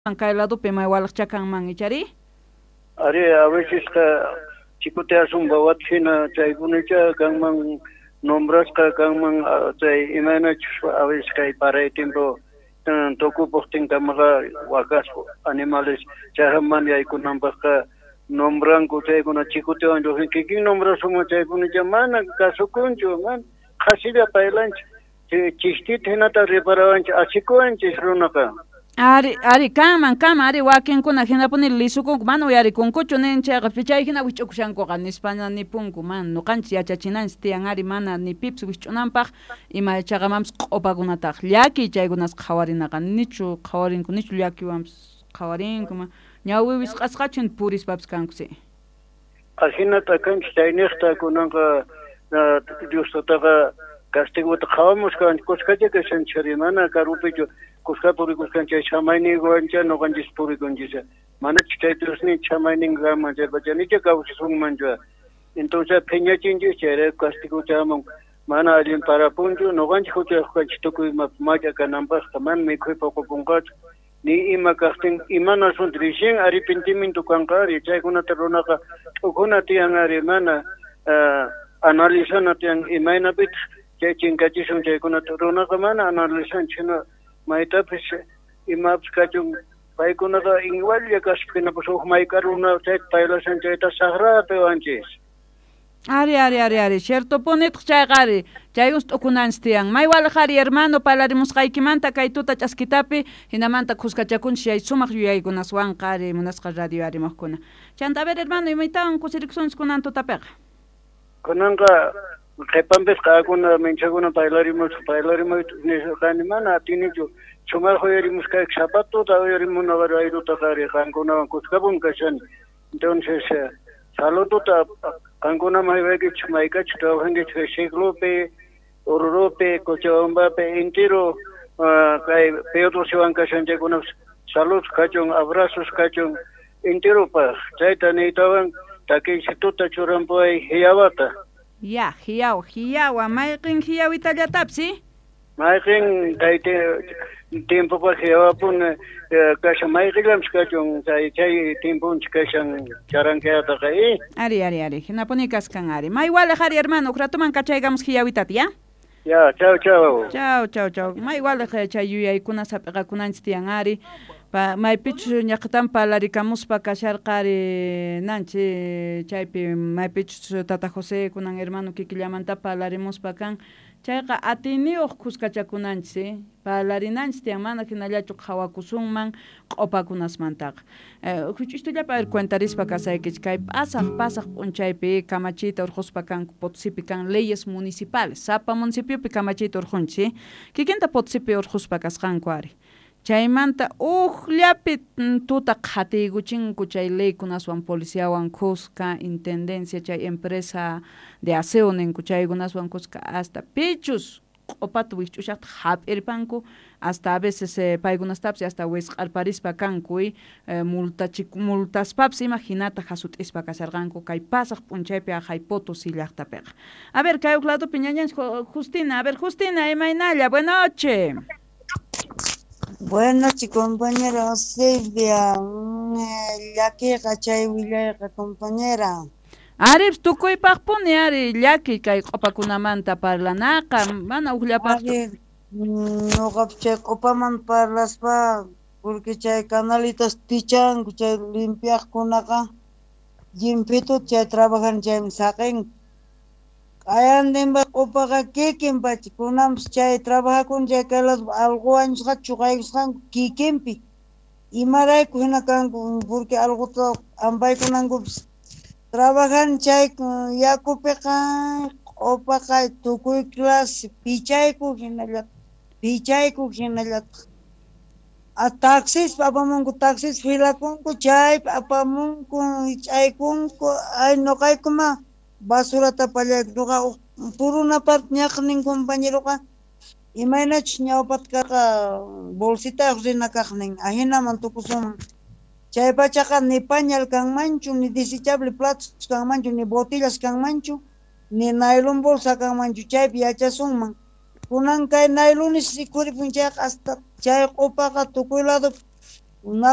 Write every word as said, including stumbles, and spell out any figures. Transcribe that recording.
Kay ladopi may walaqcha kanman ichari? Ari, a vecesqa chikuteasun wawata hina chaykunicha kanman nombrasqa kanman chay imaynachus a veces kay paray tiempo tukupuqtinkamaqa wakas animales chayman yaykunanpaqqa nombranku chaykuna chikutewan lluqsin kikin nombrasunman chaykunicha mana kasukunchu mana qhasilla paylanchik chishtita hinata reparawanchik asikuwanchis runaqa. Ari, ari, kanman, kanman, ari, wakinkuna hinapuni lisukunku, mana uyarikunkuchu nin chayqa chay hina wich'ukushankuqa nispana nipunku, mana nuqanchis yachachinanchis tiyan ari mana ni pipis wich'unanpaq ima chaqamanpis q'upakunataq llakiy chaykunas qhawarinaqa nichu qhawarinku nichu llakiwanpis qhawarinku ma ñawi wisq'asqachu purispapis kanku si. Ahinata kanchis chayniqta kunanqa Dios tataqa castigota qhawamusqanchik kuskacha kashanchik mana karupichu kuska purikusqanchik samayninwancha nuqanchis purikunchis manachu chay Diosninchik samaynin kanman chaypacha nicha kawsasunmanchu entonces phiñachinchis chayrayku castigo chamun mana allin parapunchu nuqanchik huchayuq kanchik tukuy imapi mach'a kananpaqqa mana mikhuy puqupunqachu ni ima kaqtin imanasun recién arrepentimiento kanqa ari chaykunata runaqa t'ukuna tiyan ari mana analizana tiyan imaynapitaq chay chinkachisun chaykunata runaqa mana analizanchik hina maytapis imapis kachun paykunaqa igualla kaspa hinapas huk mayk'a runa chayta paylashan chayta saqrapi wanchis. Ari, ari, ari, ari, ciertopunitaq chayqa ari, chayus t'ukunanchis tiyan. May walaq ari hermano parlarimusqaykimanta kay tuta ch'askitapi hinamanta kuskachakunchis chay sumaq yuyaykunaswanqa ari munasqa radio arimuqkuna. Chanta a ver hermano imaytawan kusirikusunchis kunan tutapiqa? Kunanqa qhipanpis qakuna minchakuna parlarimusqa parlarimuyta nisqani mana atinichu sumaq uyarimusqayki sapa tuta uyarimunaqa rayrutaqa ari qankunawan kuskapun kashani entonces saludota qankunaman haywaykichik maykachik trabajankichik Siglopi, Oruropi, Cochabambapi entero kay Pedrosiwan kashan chaykunapas saludos kachun abrazos kachun enteropaq chayta niytawan takiysituta churampuway hiyawata. Ya, hiyawa, hiyawa, mayqin hiyawitallatapis, si? Mayqin kay tiempopaq hiyawapun kashan mayqillanpis kachun chay chay tiemponchik kashan charankayataqa eh. Ari, ari, ari, hinapuni kaskan ari. May walaq ari hermano, huk ratuman kachaykamus hiyawitata, ya? Ya, chau, chau. Chau, chau, chau. May walaq chay yuyaykuna sap'iqakunanchis tiyan ari. Pa maypichus ñaqtan parlarikamuspa kasharqa ari nanchi chaypi maypichus tata José kunan hermano kikillamanta parlarimuspa kan chayqa atiniyuq kuskachakunanchis eh parlarinanchis tiyan mana hinallachu qhawakusunman q'upakunasmantaqa. Huch'uytullapa a ver cuentarispa kasaykichik kay pasaq pasaq p'unchaypi kamachiyta urquspa kanku Potosipi kan leyes municipales sapa municipiopi kamachiyta urqunchis kikinta Potosipi urquspa kasqanku ari. Chaymanta uqllapi tuta qhatiykuchinku chay leykunaswan policiawan kuska intendencia chay empresa de aseo ninku chaykunaswan kuska hasta pichus q'upata wikch'ushaqta hap'irpanku hasta a veces paykunastapis hasta wisq'arparispa kanku multachik multaspapis ima hinata hasut'ispa kasharqanku kay pasaq p'unchaypi aqhay Potosí llaqtapiqa. A ver kay huk ladopi ñañanchik Justina, a ver Justina imaynalla, buena noche. Buenas noches, compañera Silvia. Llakiqa chay willayqa, compañera. Ari, tukuypaqpuni ari llaki kay q'upakunamanta parlanaqa, mana ukllapaqchu. Ari, nuqapas chay q'upaman parlaspa, porque chay canalitas pichanku, chay limpiaqkunaqa llimpituta chay trabajan chaymi saqinku. Q'ayantinpa q'upaqa kikin pacha, kunanpas chay trabajakuna chay kay lado allqu wañusqata chuqaykusqanku kikinpi. Imarayku hina kanku, porque allquta ampaykunankupis trabajan chay yakupiqa q'upaqa tukuy clase pichayku hinallataq, pichayku hinallataq. A taxispa apamunku, taxis filakunku, chaypi apamunku, hich'aykunku, ay nuqaykuma basurata pallayku. Nuqa puruna parte ñaqnin compañeroqa imaynachus ñawpata karqa bolsitayuq rina kaqnin, ahinaman tukusunman. Chay pachaqa ni pañal kanmanchu, ni desechable platos kanmanchu, ni botellas kanmanchu, ni nylon bolsa kanmanchu, chaypi yachasunman. Kunan kay nylones rikhuripun chayqa hasta chay q'upaqa tukuy lado Una